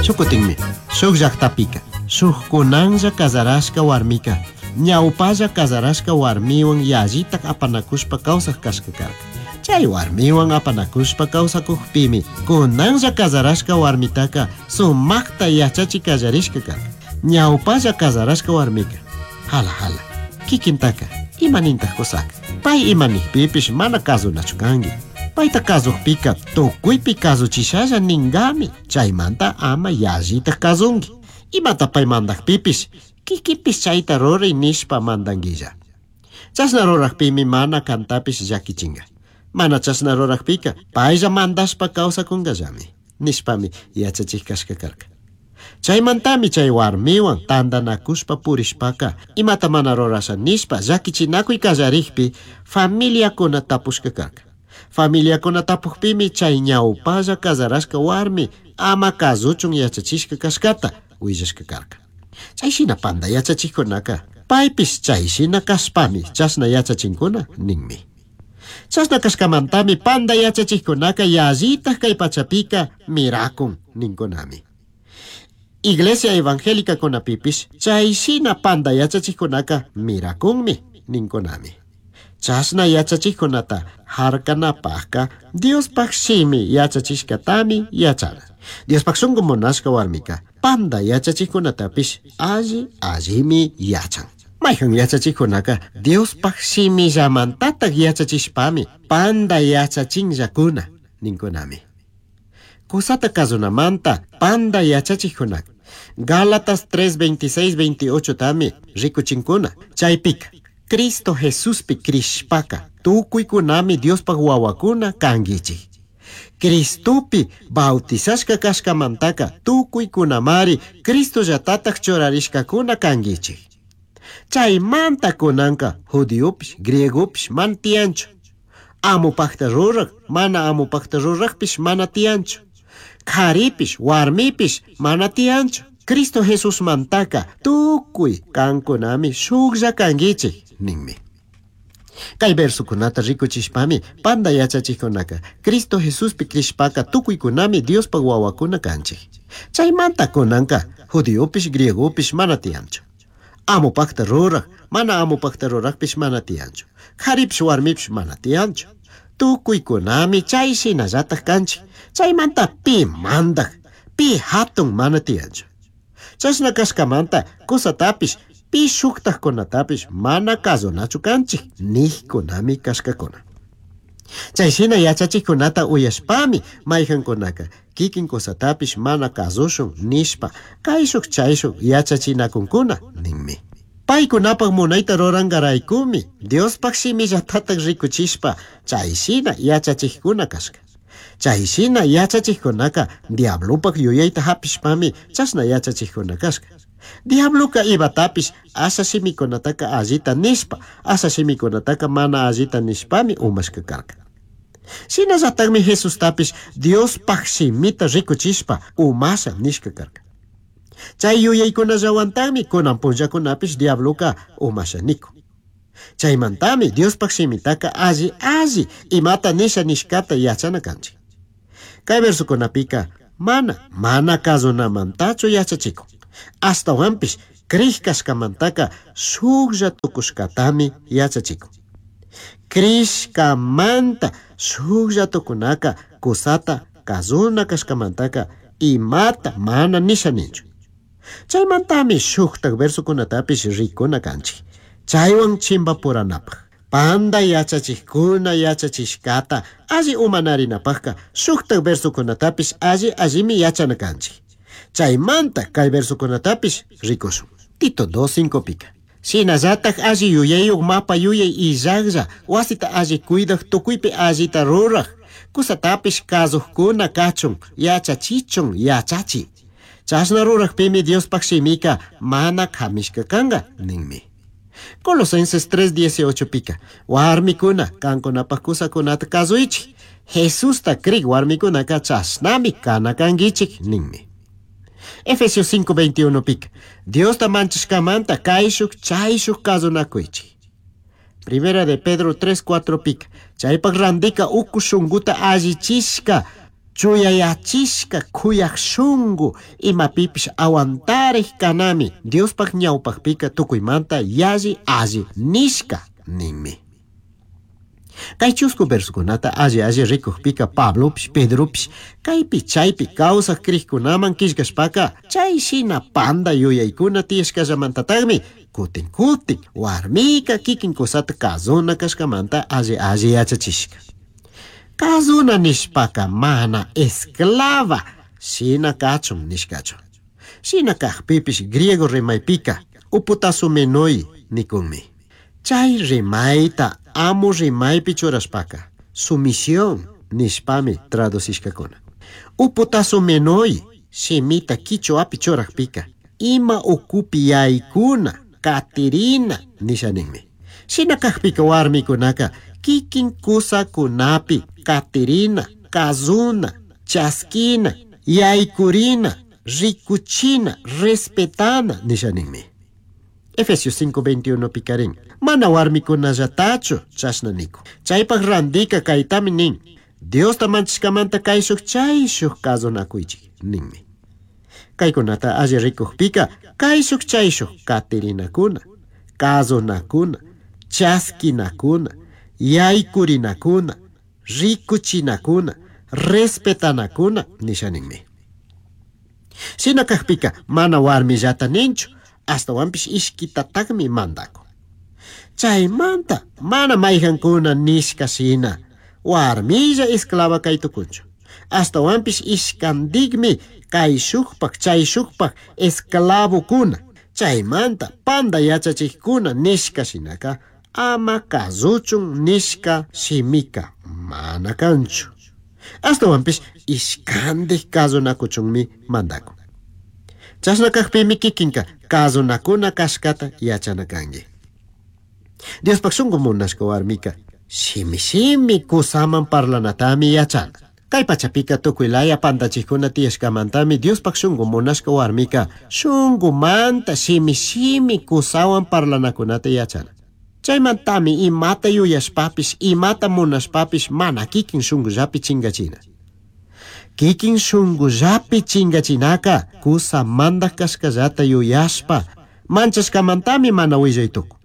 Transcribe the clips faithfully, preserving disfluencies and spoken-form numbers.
Shukutinmi, shuk llaqtapika, shukkunanlla casarashka warmika, ñawpalla casarashka warmiwan yallitak apanakushpa kawsaq kashka karka. Chay warmiwan apanakushpa kawsakukpimi, kunanlla casarashka warmitaka sumakta yachachi kallarishka karka. Ñawpalla casarashka warmika, hala hala, kikintaka, imanintaq kusaka, pay imanikpipish mana kasunachu kanki. Payta kasukpika tukuypi kasuchishalla ningami, chaymanta ama yallitak kasunki. Imata pay mandakpipish, kikinpish chayta ruray nishpa mandanguilla. Chashna rurakpimi mana kantapish llakichinga. Mana chashna rurakpika paylla mandashpa kawsakunkallami, nishpami yachachik kashka karka. Chaymantami chay warmiwan tantanakushpa purishpaka imata mana rurasha nishpa llakichinakuy kallarikpi familiakuna tapushka karka. Familiakuna tapukpimi chay ñawpalla casarashka warmi ama kasuchun yachachishka kashkata willashka karka. Chay shina panda yachachikkunaka paypish chay shina kashpami chashna yachachinkuna ninmi. Chashna kashkamantami panda yachachikkunaka yallitaj kay pachapika mirakun ninkunami. Iglesia evangélica kunapipish chay shina panda yachachikkunaka mirakunmi ninkunami. Chashna yachachikkunata harkanapajka Diospaj shimi yachachishkatami yachana. Diospaj shunku munashka warmika panda yachachikkunatapish alli allimi yachan. Mayhan yachachikkunaka Diospaj shimillamantataj yachachishpami panda yachachinllakuna ninkunami. Kusata kasunamanta panda yachachikkunaka Gálatas tres veintiséis veintiocho tami rikuchinkuna. Chaypika Cristo Jesuspi krishpaka tukuykunami Diospaj wawakuna kankichik. Cristopi bautizashka kashkamantaka tukuykunamari Cristo llatataj churarishkakuna kankichik. Chaymanta kunanka judiopish griegopish mana tiyanchu. Amupajta ruraj mana amupajta rurajpish mana tiyanchu. Karipish warmipish mana tiyanchu. Cristo Jesusmantaka tukuy kankunami shuklla kankichik ninmi. Kay versokunata rikuchishpami panda yachachikkunaka Cristo Jesuspi krishpaka tukuykunami Diospaj wawakuna kanchik. Chaymanta kunanka judiopish griegopish mana tiyanchu. Amupajta ruraj mana amupajta rurajpish mana tiyanchu. Karipish warmipish mana tiyanchu. Tukuykunami chay shinallataj kanchik. Chaymanta pi mandaj, pi hatun mana tiyanchu. Chashna kashkamanta kusatapish pi shuktajkunatapish mana kasunachu kanchik nijkunami kashkakuna. Chay shina yachachikkunata uyashpami mayhankunaka kikin kusatapish mana kasushun nishpa kayshuk chayshuk yachachinakunkuna ninmi. Paykunapaj munayta rurankaraykumi Diospaj shimillatataj rikuchishpa chay shina yachachikkuna kashka. Chay shina yachachikkunaka diablopaj yuyayta hapishpami chashna yachachikkuna kashka. Diabloka imatapish asha shimikunataka allita nishpa, asha shimikunataka mana allita nishpami umashka karka. Shinallatakmi Jesustapish Diospaj shimita rikuchishpa umasha nishka karka. Chay yuyaykunallawantakmi kunan punllakunapish diabloka umasha nikun. Chaymantami Diospaj shimitaka alli alli imata nisha nishkata yachana kanchik. Kay versokunapika mana mana kasunamantachu yachachikun. Ashtawanpish krij kashkamantaka shuklla tukushkatami yachachikun. Krishkamanta shuklla tukunaka kusata kasuna kashkamantaka imata mana nisha ninchu. Chaymantami shuktak versokunatapish rikuna kanchik. Chaywan chimbapuranapaj. Panda yachachikkuna yachachishkata alli umanarinapajka shuktak versokunatapish alli allimi yachana kanchik. Chaymanta kay versokunatapish rikushun. Tito dos cinco pika. Shinallataj alli yuyayuq mapa yuyay illajlla wasita alli cuidaj tukuypi allita ruraj kusatapish kasukkuna kachun yachachichun yachachi. Chashna rurajpimi Diospaj shimika mana kamishka kanka ninmi. Colosenses tres dieciocho pika. Warmikuna kankunapaj kusakunata kasuychik. Jesusta krik warmikunaka chashnami kana kankichik ninmi. Efesios cinco veintiuno pika. Diosta manchashkamanta kayshuk chayshuk kasunakuychik. Primera de Pedro tres cuatro pika. Chaypaj randika uku shunkuta allichishka Chuyayachishka kuyaj shungu imapipish aguantarej kanami Diospaj ñawpajpika tukuymanta yalli alli nishka ninmi. Kay chusku versokunata alli alli rikujpika Pablopish Pedropish kaypi chaypi kawsaj krikkunaman killkashpaka chay shina panda yuyaykuna tiyashkallamantataqmi kutin kutin warmika kikin kusata kazuna kashkamanta alli alli yachachishka. Kazuna nishpaka mana esclava shina kachun nishkachu. Shina kajpipish griego rimaypika uputasumenoi nikunmi. Chay rimayta amu rimaypi churashpaka sumisión nishpami traducishkakuna. Uputasumenoi shimita kichwapi churajpika ima ukupi yaykuna katirina nisha ninmi. Shina kajpika warmikunaka kikin kusakunapi katirina, kazuna, chaskina, yaykurina, rikuchina, respetana nisha ninmi. Efesios cinco veintiuno pikarin. Mana warmikunallatachu chashna niku. Chaypaj randika kaytami nin. Diosta manchishkamanta kayshuj chayshuj kazunakuychik ninmi. Kaykunata alli rikujpika kayshuj chayshuj katirinakuna, kazunakuna, chaskinakuna, yaykurinakuna, rikuchinakuna, respetanakuna nisha ninmi. Shina kajpika mana warmillata ninchu, astawanpish ishkitataqmi mandakun. Chaymanta mana mayqankuna nishka shina warmilla esclava kaytukunchu. Astawanpish ishkantikmi kayshukpaq chayshukpaq esclavokuna. Chaymanta panda yachachikkuna nishka shinaka ama kasuchun nishka shimika mana kanchu. Astawanpish ishkantik kasunakuchunmi mandakun. Chashna kajpimi kikinka kasunakuna kashkata yachana kanki. Diospaj shunku munashka warmika shimi shimi kusaman parlanatami yachana. Kay pachapika tukuy laya pantachikuna tiyashkamantami Diospaj shunku munashka warmika shunkumanta shimi shimi kusawan parlanakunata yachana. Chaymantami imata yuyashpapish imata munashpapish mana kikin shunkullapi chinkachina. Kikin shunkullapi chinkachinaka kusa mandaj kashkallata yuyashpa manchashkamantami mana willaytukun.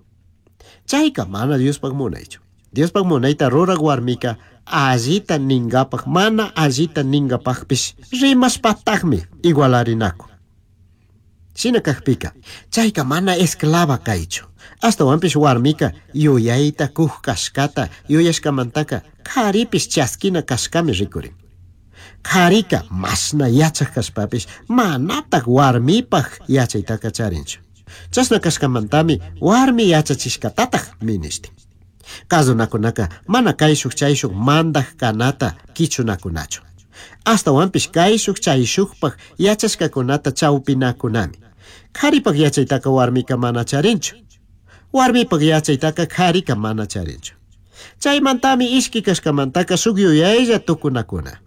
Chayka mana Diospaj munaychu. Diospaj munayta ruraj warmika allita ningapaj mana allita ningapajpish rimashpatajmi igualarinakun. Shina kajpika chayka mana esclava kaychu. Astawanpish warmika yuyayta kuj kashkata yuyashkamantaka karipish chaskina kashkami rikurin. Karika mashna yachaj kashpapish manataj warmipaj yachaytaka charinchu. Chashna kashkamantami warmi yachachishkatataj minishtin. Kasunakunaka mana kayshuk chayshuk mandaj kanata kichunakunachu. Astawanpish kayshuk chayshukpaj yachashkakunata chawpinakunami. Karipaj yachaytaka warmika mana charinchu. Warmipaj yachaytaka karika mana charinchu. Chaymantami ishki kashkamantaka shuk yuyaylla tukunakuna.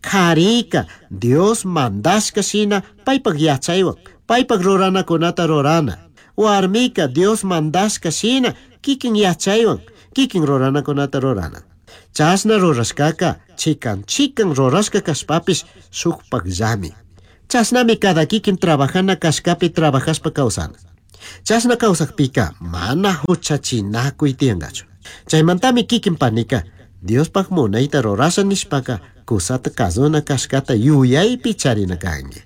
Karika Dios mandashka shina paypaj yachaywan paypaj ruranakunata rurana. Warmika Dios mandashka shina kikin yachaywan kikin ruranakunata rurana. Chashna rurashkaka chikan chikan rurashka kashpapish shukpakllami. Chashnami cada kikin trabajana kashkapi trabajashpa kawsana. Chashna kawsakpika mana huchachinakuy tiyankachu. Chaymantami kikin panika Diospaj munayta rurasha nishpaka kusata kazuna kashkata yuyaypi charina kanki.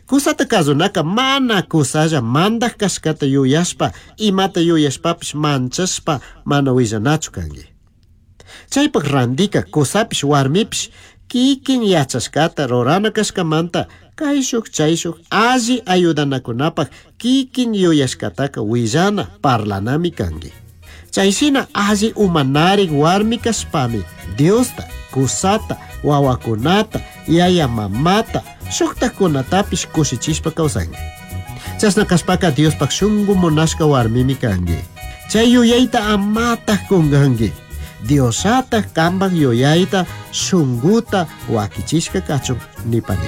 Kusata kazunaka mana kusalla mandaj kashkata yuyashpa imata yuyashpapish manchashpa mana willanachu kanki. Chaypaj randika kusapish warmipish kikin yachashkata rurana kashkamanta kayshuk chayshuk alli ayudanakunapaj kikin yuyashkataka willana parlanami kanki. Chayshina alli umanarik warmi kashpami Diosta, kusata, wawakunata, yaya mamata, shuktakunatapish kushichishpa kawsanki. Chashna kashpaka Diospaj shunku munashka warmimi kanki. Chay yuyayta amataj kunkanki. Diosataj kanpaj yuyayta shunkuta wakichishka kachun nipani.